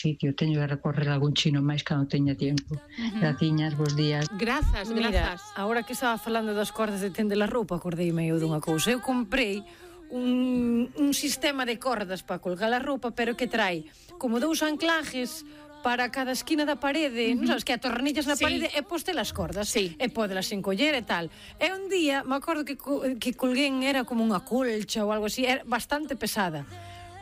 sitio, teño que recorrer algún chino máis cando teña tempo. Graciñas, bons días. Grazas, Mira, grazas. agora que estaba falando das cordas de tender a roupa, acordeime eu dunha cousa. Eu comprei un sistema de cordas para colgar a roupa, pero que trae como 2 anclajes para cada esquina da parede, non sabes, que a tornillas na parede e poste las cordas, e podelas encoller e tal. E un día, me acordo que colguén era como unha colcha ou algo así, era bastante pesada.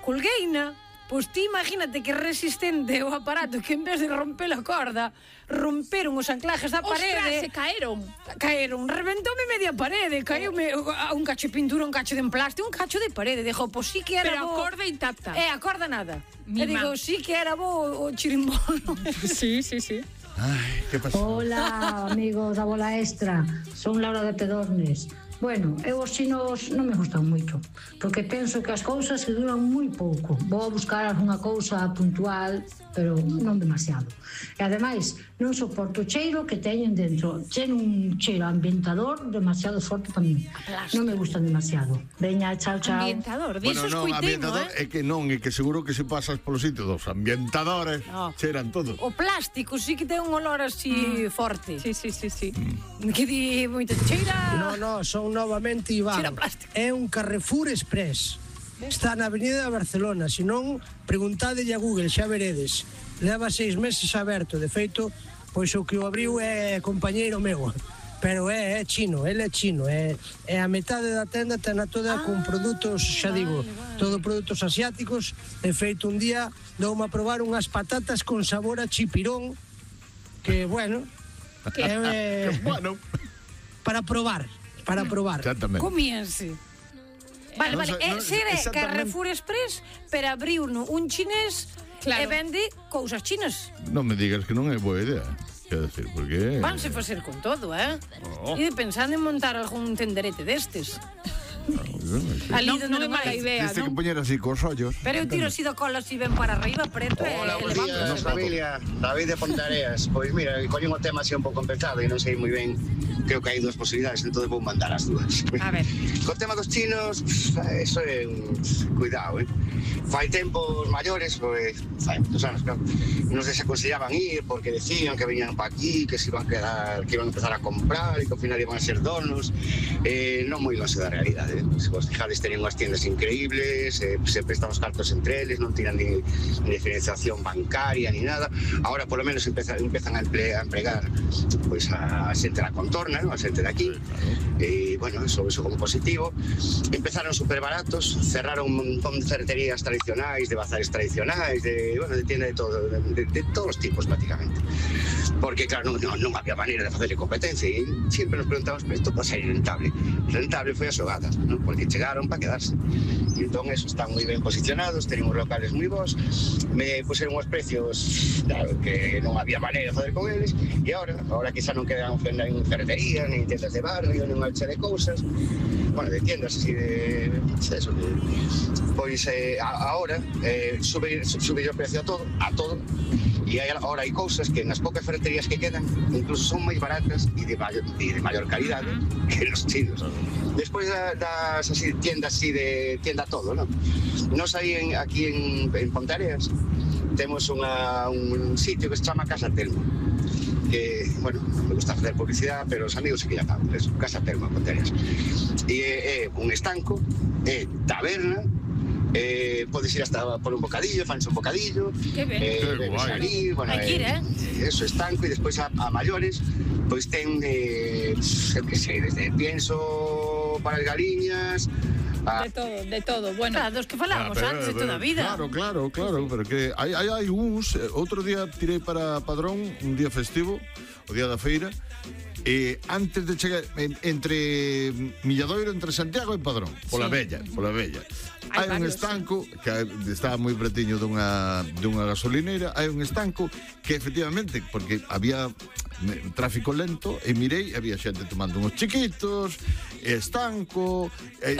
Colgueina, pois ti imagínate que resistente o aparato, que en vez de romper a corda, romperon os anclajes da parede. Ostras, se caeron. Caeron, reventoume media parede, caeume un cacho de pintura, un cacho de emplaste, un cacho de parede. Dijo, pois sí que era Pero bo. a corda intacta. A corda nada. Mi E digo, sí que era bo o chirimbolo. Sí, sí, sí. Ai, que pasou? Hola, amigos da Bola Extra. Son Laura de Pedornes. Bueno, eu os chinos non me gustan moito, porque penso que as cousas que duran moi pouco. Vou a buscar algunha cousa puntual, pero non demasiado. E ademais, non soporto o cheiro que teñen dentro. Ten un cheiro ambientador demasiado forte para mí. Non me gustan demasiado. Veña, chao, chao. Ambientador, Bueno, diso non, escuitei, ambientador é que non, é que seguro que se pasas polo sitio dos ambientadores, cheran todos. O plástico sí que ten un olor así forte. Sí, sí, sí, sí. Que di moita cheira. No, son novamente Iván. Cheira plástico. É un Carrefour Express. Está na Avenida de Barcelona. Se non, preguntadelle a Google, xa veredes. Leva 6 meses aberto. De feito, pois o que o abriu é compañeiro meu. Pero é chino, ele é chino. É a metade da tenda tena toda con produtos, xa digo, todo produtos asiáticos. De feito, un día doume a probar unhas patatas con sabor a chipirón, que, bueno, Que bueno. para probar. Exactamente. Comíanse. Vale, Non vale, sei, non- ser exactamente. Carrefour Express, pero abriu un chinés Claro. e vende cousas chinas. Non me digas que non é boa idea. Quero decir, porque... Vanse facer con todo, Oh. E pensando en montar algún tenderete destes. Ali Non, donde non é mala hai. idea, Dice que non? poñer así cos ollos. Pero eu tiro así do colo así ben para arriba, preto e Hola, buenos días, levando. familia. David de Pontareas. Pois mira, coño un tema así un pouco empezado e non sei moi ben, creo que hai 2 posibilidades, entón vou mandar as 2. A ver. Co tema dos chinos, eso é un... Cuidado, Fai tempos maiores, pois, fai moitos anos, claro, non se aconsellaban ir porque decían que venían pa aquí, que se iban a quedar, que iban a empezar a comprar e que ao final iban a ser donos. Non moi longe da realidade, Se vos fijades, tenían unhas tiendas increíbles, se prestan os cartos entre eles, non tiran ni diferenciación bancaria ni nada. Ahora, por lo menos, empezan a empregar pois a xente da contorna, non? A xente de aquí. E, bueno, eso como positivo. Empezaron super baratos, cerraron un montón de ferreterías tradicionais, de bazares tradicionais, de tiendas de todos os tipos, prácticamente. Porque, claro, non había maneira de facerle competencia e sempre nos preguntamos, pero isto pode ser rentable. Rentable foi a xogada, non? Porque chegaron para quedarse. E entón, eso, están moi ben posicionados, teñen uns locales moi bons, me puseron os precios, claro, que non había maneira de facer con eles, e agora quizá non quedan en ferreterías, nin tiendas de barrio, nin unha de cousas, bueno, de tiendas así de eso, pois agora sube o precio a todo, e agora hai cousas que nas poucas ferreterías que quedan incluso son moi baratas e de maior calidade que los chinos. Despois das así, tiendas así de tienda todo, non? Nos aí aquí en Pontareas temos un sitio que se chama Casa Telmo, que, bueno, me gusta facer publicidade, pero os amigos se que ya saben, es Casa Telmo en Pontareas. E é un estanco, é taberna, podes ir hasta por un bocadillo, fanse un bocadillo, bebes ali, bueno, eso, estanco, e despois a maiores, pois ten, eu que sei, desde pienso para as galiñas, De todo, bueno. Claro, dos que falábamos antes de toda a vida. Claro, pero que hai uns, outro día tirei para Padrón, un día festivo, o día da feira, e antes de chegar entre Milladoiro, entre Santiago e Padrón, pola Bella. Hai un estanco que estaba moi pretiño dunha gasolineira, hai un estanco que efectivamente, porque había tráfico lento, e mirei, había xente tomando uns chiquitos, estanco, e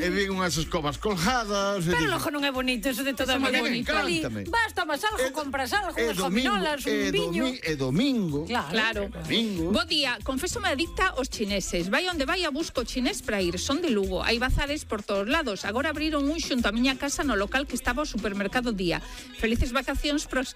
vi unhas escobas colgadas. Pero logo non é bonito eso de toda a vida. Encántame. Vas, tomas algo, compras algo, unhas gominolas, un viño. É domingo. Claro. Bo día, confésome adicta aos chineses. Vai onde vai a busco chinés para ir. Son de Lugo. Hai bazares por todos lados. Agora abriron un xunto a miña casa no local que estaba o supermercado Día. Felices vacacións pros